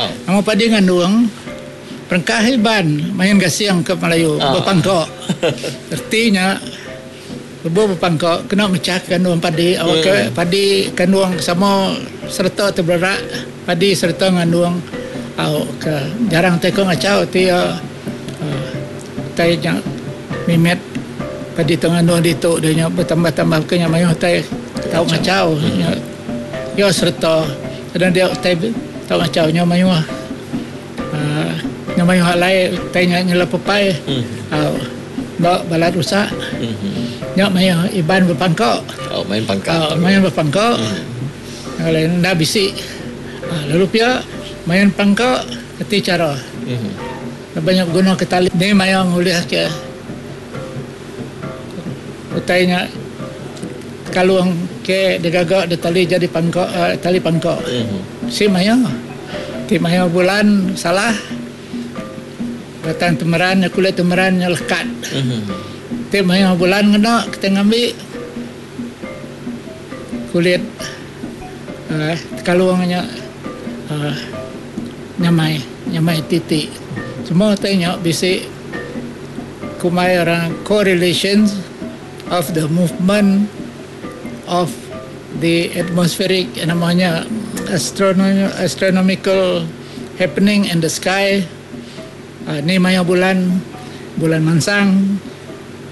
Nama padi ngandung perengkah Iban main gasing ke Melayu bepangka. Reti nya lebuh bepangka kena mechah kandung padi awakka padi kandung sama sereta tebererak padi sereta ngandung au ke jarang tai ko ngachau ti iya tai nya mimit padi tu ngandung ditu dia nya betambah-tambah ke nya mayuh tai tau ngachau nya iya sereta kadang dia tai tau ngachau nya mayuh uhh nya mayuh alai tai nya nyelap pepai au enda balat rusak nya mayuh Iban bepangka oh main pangka main bepangka alai enda bisi lalu pia main pangka reti chara laban nya beguna ke tali ni maya ngulih ke utai nya kalung ke digaga da tali jadi pangka tali pangka bisi maya ti maya bulan salah batang temeran nya kulit temeran nya lekat ti maya bulan ngena kita ngambi kulit uhh kalung nya uhh nyamai nyamai titi semua utai nya bisi kumbai orang correlations of the movement of the atmospheric nama nya astronomical happening in the sky uhh ni maya bulan bulan mansang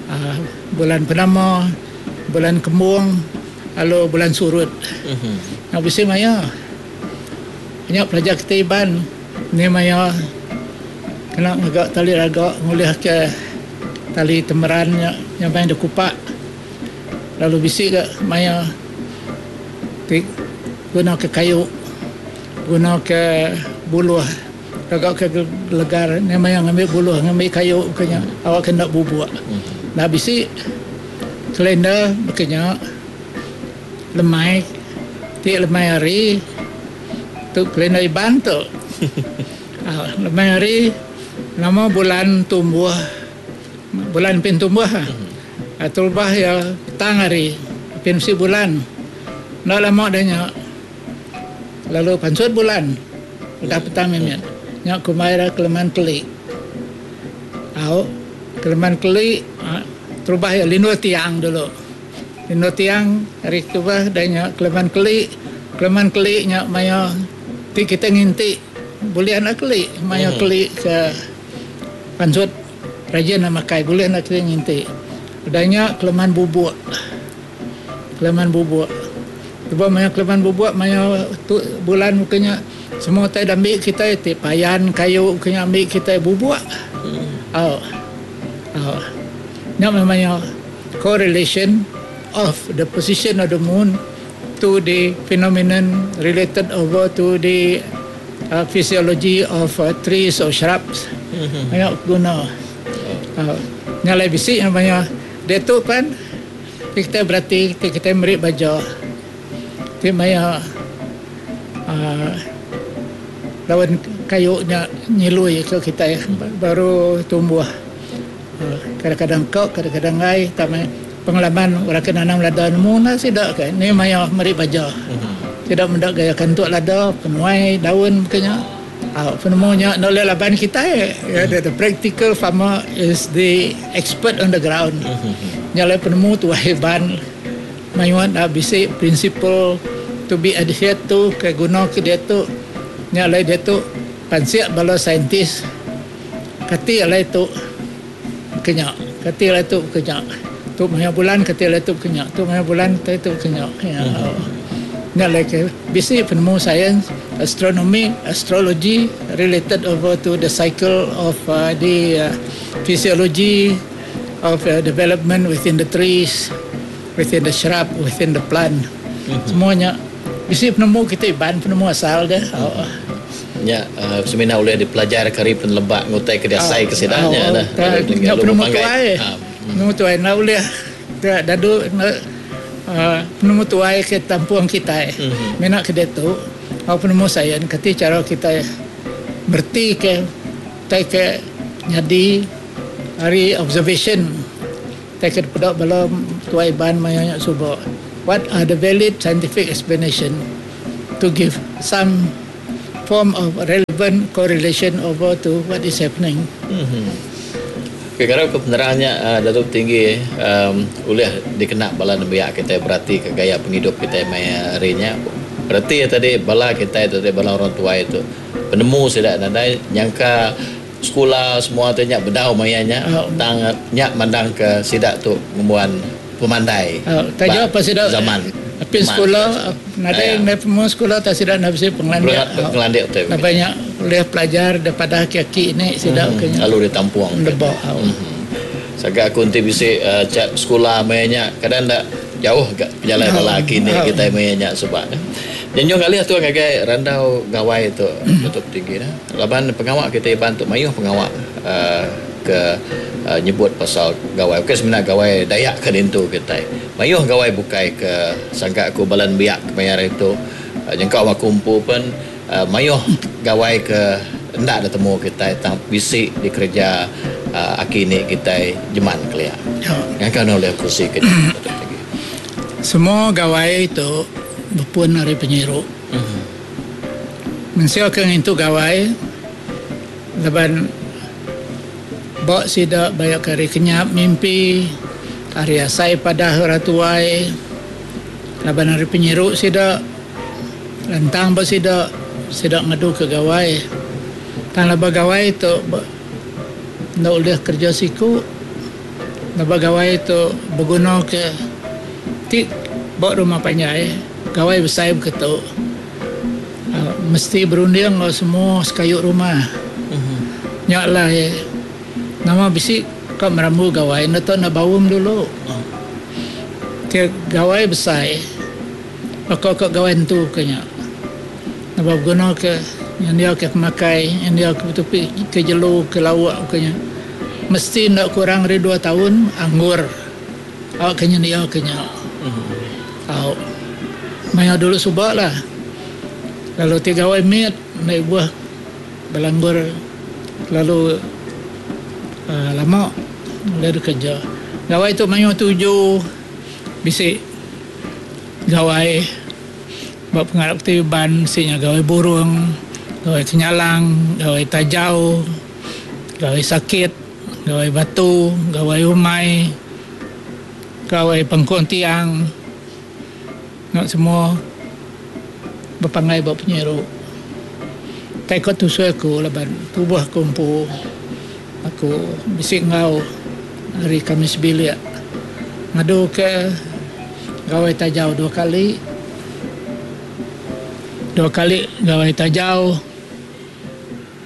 uhh bulan penama bulan kembung lalu bulan surut. Nya bisi maya nya pelajar kitai Iban ni maya kena ngaga tali raga ngulih ke tali temeran nya nyamai deh kupak lalu bisi ga maya ti guna ke kayu guna ke buluh gaga ke gelegar nya maya ngambi buluh ngambi kayu ke nya awak ke enda bubuk. Enda bisi kalender baka nya lemai ti lemai hari tu kalender Iban tu. Lemai hari nama bulan tumbuh bulan pin tumbuh terubah iya petang hari pin bisi bulan enda lama dah nya lalu pansut bulan udah petang mimit nya kumbai ira keleman keli au keleman keli terubah iya lindu tiang dulu lindu tiang hari terubah dah nya keleman keli keleman keli nya maya ti kita nginti. Bulih enda keli maya keli ke pansut rajin enda makai bulih enda keli nginti. Udah nya keleman bubuk. Keleman bubuk. Lebuh maya keleman bubuk maya tu bulan buka nya semua utai da ambi kitai ti payan kayu ke nya ambi kitai bubuk. Au. Au. Nya meh maya correlation of the position of the moon. To the phenomenon related over to the physiology of trees or shrubs. Nya guna. Nya alai bisi maya diatu pan ti kitai berati ti kitai meri baja ti maya uhh daun kayu nya nyilui ke kitai baru tumbuh. Kadang-kadang ka kadang-kadang enggai tang meh pengalaman orang ke nanam lada nemu enda sida ke ni maya meri baja. Sida meda gaya kantuk lada penuai daun baka nya au penemu nya enda ulih laban kitai the practical farmer is the expert on the ground. Nya alai penemu tuai Iban mayuh enda bisi principle to be adhered to ke guna ke diatu nya alai diatu pansik bala scientist. Kati alai tu ke nya, kati alai tu ke nya. Tu maya bulan kati alai tu ke nya, tu maya bulan kati tu ke nya. Nya alai ke bisi penemu sains, astronomy, astrology related over to the cycle of the physiology of development within the trees, within the shrub, within the plant. Semua nya bisi penemu kitai Iban penemu asal deh. Nya semina ulih dipelajarka ari peneleba ngutai ke diasai ke sida nya dah. Nya penemu tuai. Penemu tuai enda ulih dadu penemu tuai ke tampung kitai. Mina ke diatu au penemu sains kati chara kitai mereti ke utai ke nyadi ari observation utai ke dipeda bala tuai Iban maya nya suba. What are the valid scientific explanation to give some. form of relevant correlation over to what is happening. Ke ngarap ke penerang nya Datuk Tinggi ulih dikena bala nembiak kitai berati ke gaya pengidup kitai maya hari nya. Reti iya tadi bala kitai tu tadi bala orang tuai tu penemu sida nadai nyangka sekula semua tu nya bedau maya nya tang nya mandang ke sida tu ngembuan pemandai ba zaman. Apin sekula nadai meh penemu sekula tang sida enda bisi pengelandik. Pengelandik tu. Laban nya ulih pelajar daripada aki-aki ni sida ke nya. Lalu ditampung. Deba. Saga aku enti bisi cha sekula maya nya kadang enda jauh ga pejalai bala aki ni kitai maya nya suba. Nyenjung alih tu ngagai randau gawai tu Datuk Tinggi ne. Laban pengawa kitai Iban tu mayuh pengawa ke nyebut pasal gawai ukai semina gawai Dayak ke dintu kitai. Mayuh gawai bukai ke sangka aku bala nembiak kemaya hari tu nyengkaum aku empu pen mayuh gawai ke enda ditemu kitai tang bisi dikereja aki ini kitai jeman kelia. Ngangka ne ulih kursi ke nya. Semua gawai tu bepun ari penyiru. Mensia ke ngintu gawai laban ba sida bayak ke ari kenyap mimpi, ari asai padah orang tuai laban ari penyiru sida lantang ba sida, sida ngadu ke gawai. Tang laban gawai tu enda ulih kereja siku laban gawai tu beguna ke ti ba rumah panjai gawai besai beketu. Mesti berunding enggau semua sekayu rumah. Nya alai nama bisi ka merambu gawai enda tau enda baum dulu. Ti gawai besai baka ka gawai entu ke nya. Naba beguna ke nyendia ke pemakai, nyendia ke betupi ke jelu ke lauk ke nya. Mesti enda kurang ari dua taun anggur. Au ke nyendia ke nya. Au. Maya dulu suba lah. Lalu ti gawai mit enda ibuh belanggur kelalu uhh lama ulih dikereja. Gawai tu mayuh tuju bisi gawai ba pengarap ti Iban bisi nya gawai burung, gawai kenyalang, gawai tajau, gawai sakit. Gawai batu, gawai umai, gawai pengkung tiang nya semua bepanggai ba penyiru. Tai ko tusui aku laban tubuh aku empu aku bisi enggau ari kami sebilik ngadu ke gawai tajau dua kali, dua kali gawai tajau,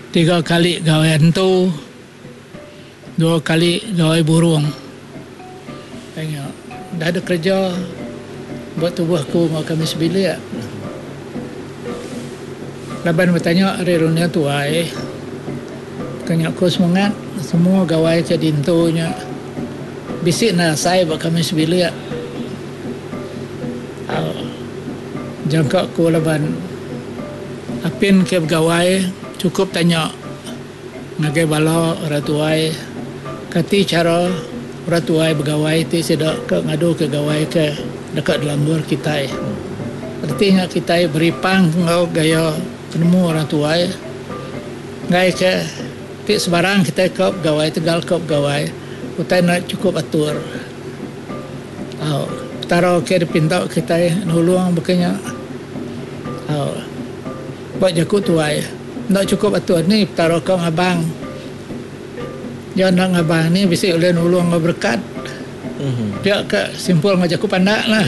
tiga kali gawai antu. Dua kali gawai burung. Ai nya dah ada kereja ba tubuh aku enggau kami sebilik. Laban betanya ari runding tuai ke nya ku semengat semua gawai ke dintu nya bisi enda asai ba kami sebilik. Au jangka ku laban apin ke begawai chukup tanya. Ngagai bala orang tuai, kati chara orang tuai begawai ti sida ke ngaduka gawai ke deka dilanggur kitai. Reti nya kitai beripang enggau gaya penemu orang tuai enggai ke ti sebarang kitai ka begawai tegal ka begawai utai enda chukup atur. Au Petara ke dipinta kitai nulung baka nya. Au ba jaku tuai. Enda chukup atur ni Petara ka ngabang. Iya enda ngabang ni bisi ulih nulung enggau berekat. Pia ka simpul enggau jaku pandak lah.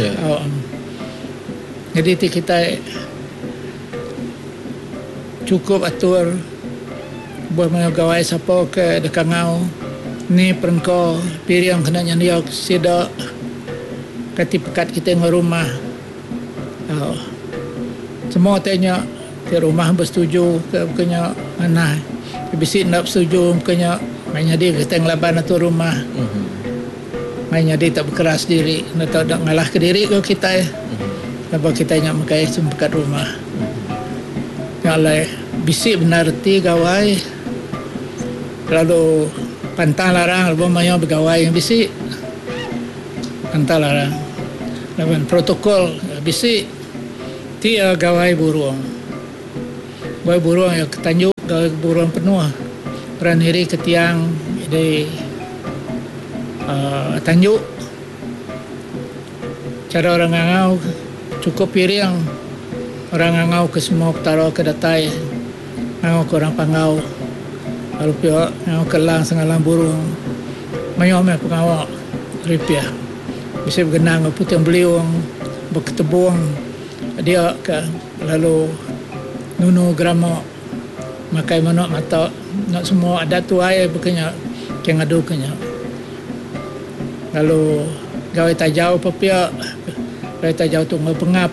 Nyadi ti kitai chukup atur lebuh maya gawai sapa ke deka ngau ni perengka piring kena nyendia sida kati pekat kitai enggau rumah. Semua ti nya ti rumah besetuju ke buka nya manah. Bisi enda besetuju buka nya mai nyadi kitai ngelaban atur rumah. Mai nyadi tak bekeras diri enda tau enda ngalah ke diri ko kitai. Laban kitai nya megai sempekat rumah. Nya alai bisi bendar reti gawai lalu pantang larang lebuh maya begawai bisi. Pantang larang laban protokol bisi ti iya gawai burung. Gawai burung iya ke tanju gawai burung penuh orang niri ke tiang di uhh tanju. Chara orang ngangau chukup piring orang ngangau ke semua petara ke datai ngangau ke orang Panggau lalu pia ngangau ke Lang Sengalang Burung mayuh meh pengawa ripih bisi begenang enggau puting beliung beketebung dia ke lalu nunu gerama makai manuk mata enda semua adat tuai baka nya ke ngadu ke nya. Lalu gawai tajau pun pia gawai tajau tu enggau pengap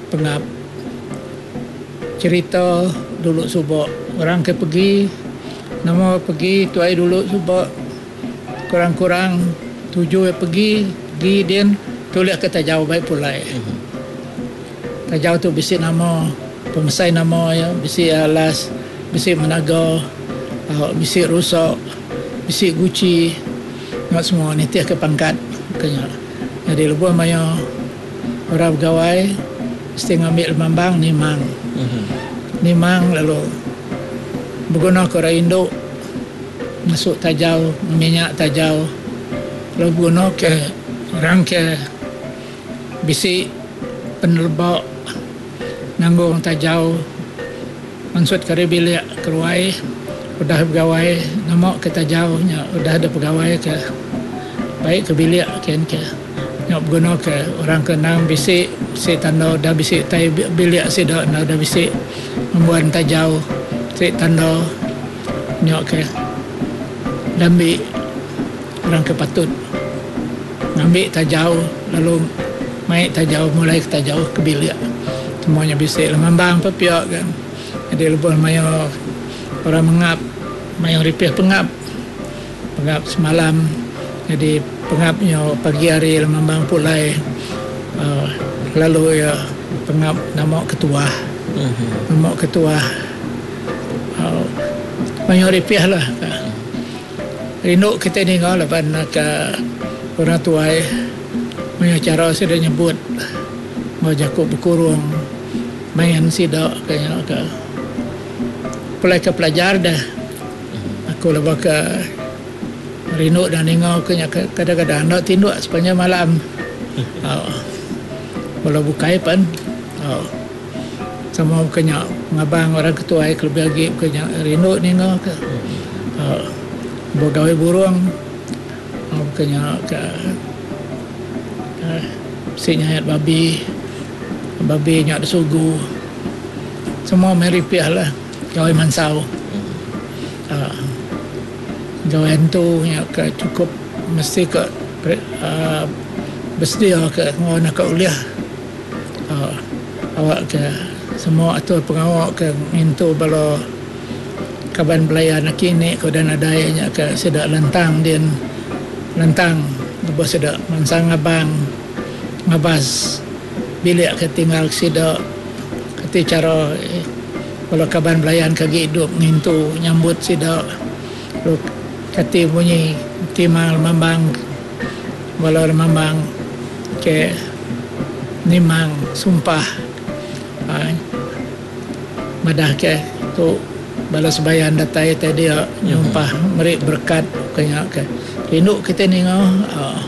pengap cherita dulu suba orang ke pegi nama pegi tuai dulu suba kurang kurang tuju iya pegi pegi din tulih ke tajau bai pulai. Tajau tu bisi nama pemesai nama iya bisi alas bisi menaga bisi rusa bisi guchi nya semua nitih ke pangkat ke nya. Nyadi lebuh maya orang begawai mesti ngambi lemambang nimang. Nimang lalu beguna ke orang indu masu tajau minyak tajau lalu beguna ke orang ke Bisi peneleba nanggung tajau mansut ke ari bilik keruai udah begawai nama ke tajau nya udah deh pegawai ke baik ke bilik kin ke nya beguna ke orang ke endang bisi bisi tanda udah bisi tai bilik sida enda udah bisi ngembuan tajau ti tanda nya ke dambi orang ke patut. Ngambi tajau lalu mai tajau mulai ke tajau ke bilik. Semua nya bisi lemambang pun pia ga. Jadi lebuh maya orang mengap maya ripih pengap, pengap semalam jadi pengap nya pagi hari lemambang pulai uhh lalu iya pengap nama ketuah. Nama ketuah uhh mayuh ripih lah. Rindu kitai ninga laban ka orang tuai mayuh chara sida nyebut enggau jaku bekurung main sida ka nya ka. Pulai ka pelajar deh aku lebuh ka rindu da ninga ku nya kadang-kadang enda tinduk sepanjang malam au bala bukai pen au sama buka nya ngabang orang ke tuai kelebih agi buka nya rindu ninga ka. Begawai burung buka nya ka bisi nyayat babi, babi nya disugu semua meh ripih lah gawai mansau uhh gawai antu nya ka chukup mesti ka uhh besedia ka enggau naka ulih uhh awak ka semua atur pengawa ka ngintu bala. Kaban belayan aki ini ke udah nadai nya ke sida lantang din lantang lebuh sida mansang ngabang ngabas bilik ke tinggal sida kati chara bala kaban belayan ke agi idup ngintu nyambut sida lalu kati munyi timang lemambang bala lemambang ke nimang sumpah uhh. Madah ke tu bala sebayan datai tai dia nyumpah meri berekat ke nya ke rindu kitai ninga uhh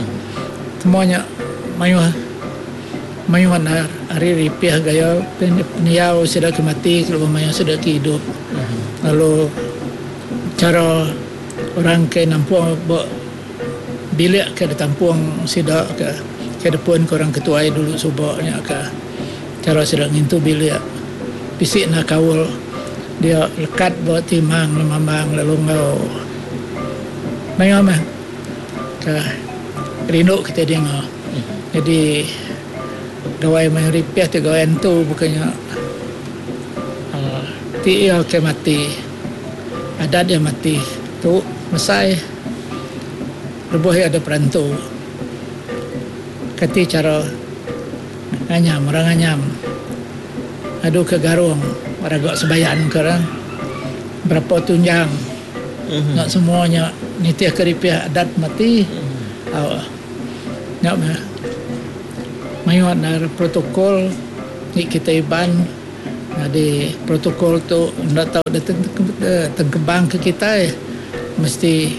semua nya mayuh mayuh enda ari ripih gaya pendiau sida ke mati ke lebuh mayuh sida ke idup lalu chara orang ke nampung ba bilik ke ditampung sida ke ke depun ke orang ke tuai dulu suba nya ke. Chara sida ngintu bilik bisi enda kaul dia lekat ba timang lemambang lalu enggau mayuh meh ke rindu kitai dinga. Jadi gawai mayuh ripih ti gawai antu bukai nya uhh ti iya ke mati adat iya mati tu mesai lebuh iya ada perantu kati chara. Nganyam orang nganyam adu ke garung raga sebayan ke orang berapa tunjang nya semua nya nitih ke ripih adat mati au nya meh mayuh enda protokol ti kitai Iban. Nyadi protokol tu enda tau ditengkebang ke kitai mesti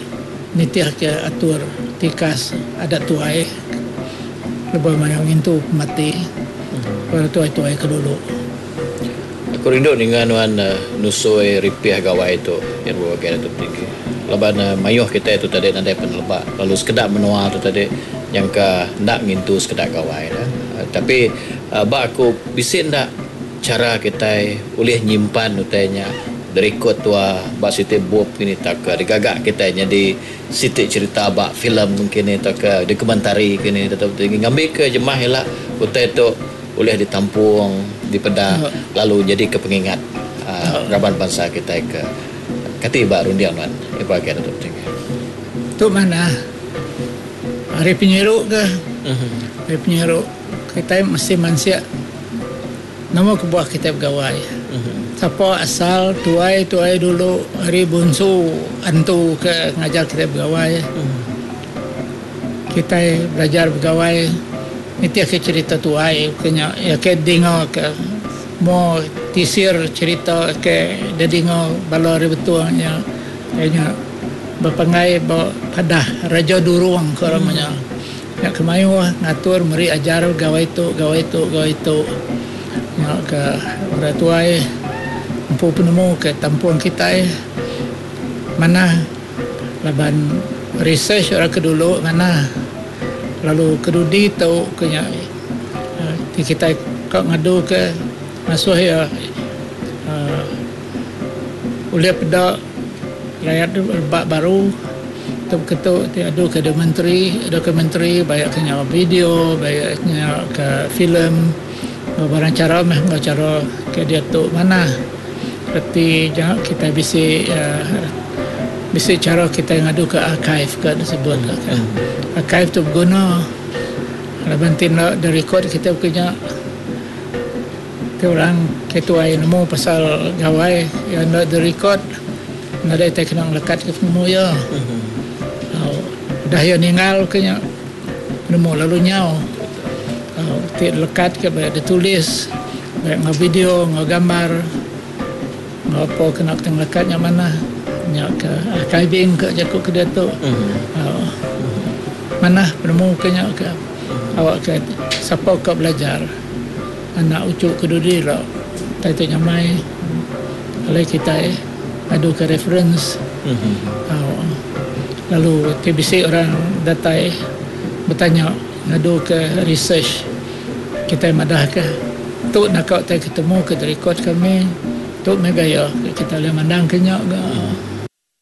nitih ke atur tikas adat tuai lebuh maya ngintu pemati bala tuai-tuai ke dulu. Aku rindu ninga nuan nusui ripih gawai tu nya bebagai Datuk Tinggi laban mayuh kitai tu tadi nadai peneleba lalu sekeda menua tu tadi nyangka enda ngintu sekeda gawai ne. Tapi ba aku bisi enda Chara kitai ulih nyimpan utai nya dirikod tua ba siti bup kini tauka digaga kitai nyadi siti cherita ba filem kini tauka dokumentari kini tetap tinggi ngambika jemah ila utai tu ulih ditampung dipeda lalu nyadika pengingat aaa raban bansa kitai ke kati ba runding nuan iba agi tetap tinggi. Tu manah ari penyiru ke ari penyiru. Kitai mesti mansik nama kebuah kitai begawai. Sapa asal tuai-tuai dulu ari bunsu antu ke ngajar kitai begawai. Kitai belajar begawai nitihka cherita tuai ke nya iya ke dinga ke mo tisir cherita ke didinga bala ari Betong nya iya nya bepanggai ba padah Raja Durong ko orang nya. Nya ke mayuh ngatur meri ajar gawai tu gawai tu gawai tu. Nya ke orang tuai empu penemu ke tampung kitai manah laban research orang ke dulu manah lalu ke dudi tu ke nya ti kitai ka ngadu ke ngasuh iya uhh ulih peda rayat rebak baru. Tu ketu ti adu ke dokumentari, dokumentari baik ke nya video, baik nya ke filem enggau barang chara meh enggau chara ke diatu manah. Reti nya kitai bisi uhh bisi chara kitai ngadu ke archive ke disebut ke. Archive tu beguna laban ti enda direkod kitai baka nya ti orang ke tuai nemu pasal gawai iya enda direkod. Nadai tai kena ngelekat ke penemu iya. Udah iya ninggal ke nya penemu lalu nyau. Ti lekat ke ba ditulis ba enggau video enggau gambar enggau apa kena ke ngelekat nya manah nya ke archiving ke jaku ke diatu. Manah penemu ke nya ke awak ke sapa ka belajar. Anak uchu ke dudi ila utai ti nyamai alai kitai ngadu ke reference lalu ti bisi orang datai betanya ngadu ke research kitai madah ke tu naka utai ke temu ke direkod kami tu meh gaya kitai ulih mandang ke nya ga.